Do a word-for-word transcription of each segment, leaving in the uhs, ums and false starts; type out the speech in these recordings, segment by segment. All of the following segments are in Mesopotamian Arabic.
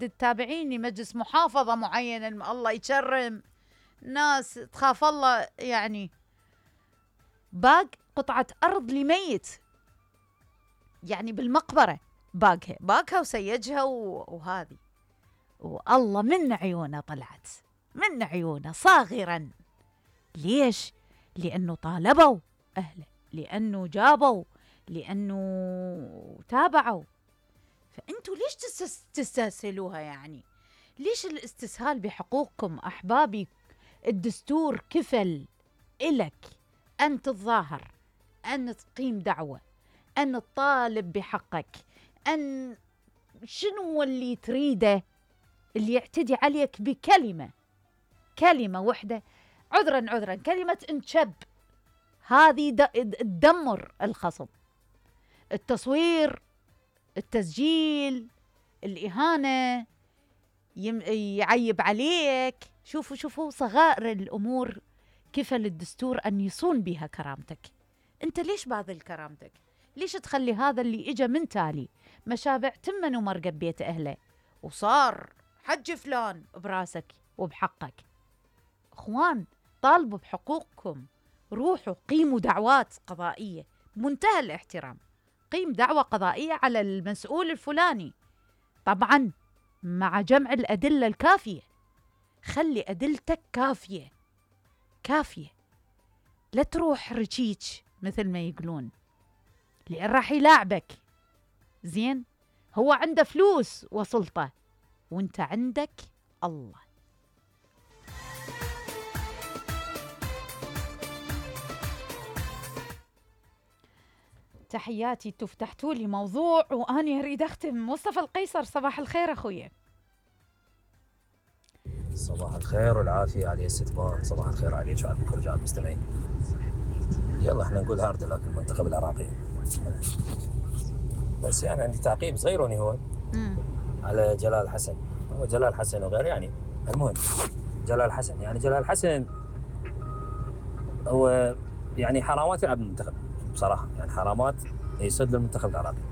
تتابعيني مجلس محافظة معينة الله يكرم ناس تخاف الله، يعني باق قطعة أرض لميت، يعني بالمقبرة باقها باقها وسيجها وهذه، والله من عيونه طلعت، من عيونه صاغرا. ليش؟ لأنه طالبوا أهله، لأنه جابوا، لأنه تابعوا. فأنتوا ليش تستسهلوها؟ يعني ليش الاستسهال بحقوقكم أحبابي؟ الدستور كفل إلك أن تتظاهر، أن تقيم دعوة، أن تطالب بحقك، أن شنو اللي تريده اللي يعتدي عليك بكلمة، كلمة وحدة، عذرا عذرا كلمة انشب، هذه تدمر الخصم. التصوير، التسجيل، الإهانة، يعيب عليك. شوفوا شوفوا صغائر الأمور كفل الدستور أن يصون بها كرامتك. أنت ليش باذل كرامتك؟ ليش تخلي هذا اللي إجا من تالي مشابع تمن ومرقب بيت أهله وصار حج فلان براسك وبحقك؟ أخوان، طالبوا بحقوقكم، روحوا قيموا دعوات قضائية بمنتهى الاحترام. قيم دعوة قضائية على المسؤول الفلاني، طبعا مع جمع الأدلة الكافية. خلي أدلتك كافية كافية، لا تروح رشيج مثل ما يقولون، لأن راح يلاعبك. زين، هو عنده فلوس وسلطة وانت عندك الله. تحياتي. تفتحتوا لي موضوع وأنا أريد أختم. مصطفى القيصر، صباح الخير أخويا. صباح الخير والعافية علي الستمان، صباح الخير عليك وعلى كل رجال المستمعين. يلا احنا نقول هارد لك المنتخب العراقي، بس يعني عندي تعقيب صغير وني هو مم. على جلال حسن. هو جلال حسن وغير، يعني المهم جلال حسن، يعني جلال حسن هو يعني حرامات يلعب المنتخب بصراحة، يعني حرامات يصد للمنتخب العراقي،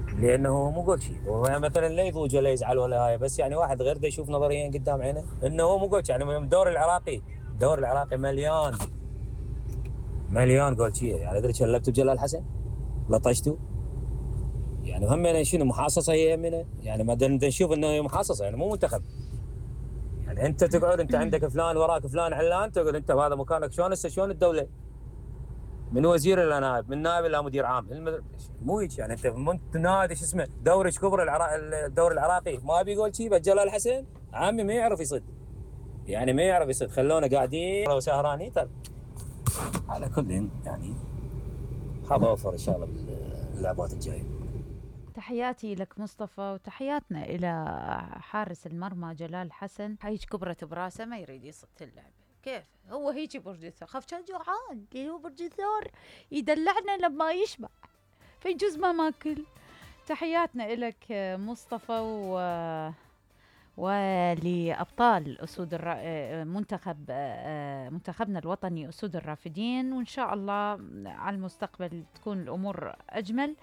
لانه مو قول شيء هو يعني مثلا لا يضوج ولا يزعل ولا هاي، بس يعني واحد غير ده يشوف نظريا قدام عينه انه هو مو قول شيء. يعني الدوري العراقي الدوري العراقي مليان مليان قول شيء. يعني ادري شلبتوا بجلال حسن لطشتوا، يعني هم يعني شنو محاصصه هي يمنا، يعني ما نشوف انه هي محاصصه، يعني مو منتخب. يعني انت تقعد انت عندك فلان وراك فلان علان، تقعد انت بهذا مكانك. شلون هسه شلون الدوله من وزير الى نائب، من نائب الى مدير عام، مو هيك. يعني انت انت نادي شو اسمه دوري كبر العراق الدوري العراقي ما بيقول شيء، بس جلال حسن عمي ما يعرف يصد، يعني ما يعرف يصد، خلونا قاعدين وسهرانين. طيب على كل يعني خاب اوفر ان شاء الله باللعبات الجايه. تحياتي لك مصطفى، وتحياتنا إلى حارس المرمى جلال حسن. هيك كبرت براسه ما يريد يصد اللعبة. كيف هو هيجي برج الثور؟ خاف كان جوعان، هو برج الثور يدلعنا لما يشبع، فيجوز ما ماكل. تحياتنا إلك مصطفى، و ولأبطال أسود الر... منتخب منتخبنا الوطني أسود الرافدين، وإن شاء الله على المستقبل تكون الأمور أجمل.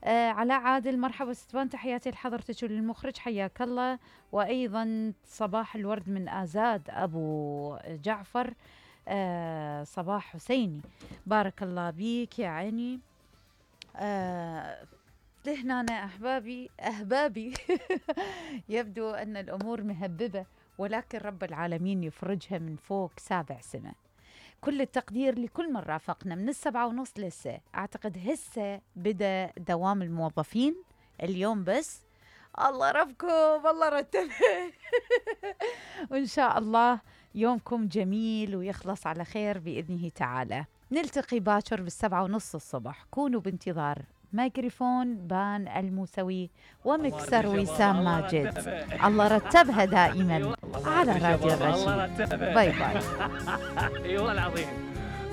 آه علاء عادل، مرحبا ستوان، تحياتي لحضرتك وللمخرج، حياك الله. وأيضا صباح الورد من آزاد أبو جعفر. آه صباح حسيني، بارك الله بيك يا عيني. آه لهنا أنا أحبابي أحبابي يبدو أن الأمور مهببة، ولكن رب العالمين يفرجها من فوق سابع سنة. كل التقدير لكل من رافقنا من السبعة ونص لسه. أعتقد هسه بدأ دوام الموظفين اليوم، بس الله ربكم الله رتبه وإن شاء الله يومكم جميل ويخلص على خير بإذنه تعالى. نلتقي باكر بالسبعة ونص الصبح. كونوا بانتظار ميكروفون بان الموسوي ومكسر وسام ماجد. الله رتبها دائما على راديو الرشيد. باي باي. اي والله العظيم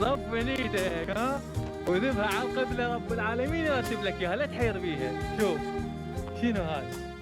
صف ايدك ها وذبها على القبله، رب العالمين يرتب لك اياها، لا تحير بيها. شوف شنو هاي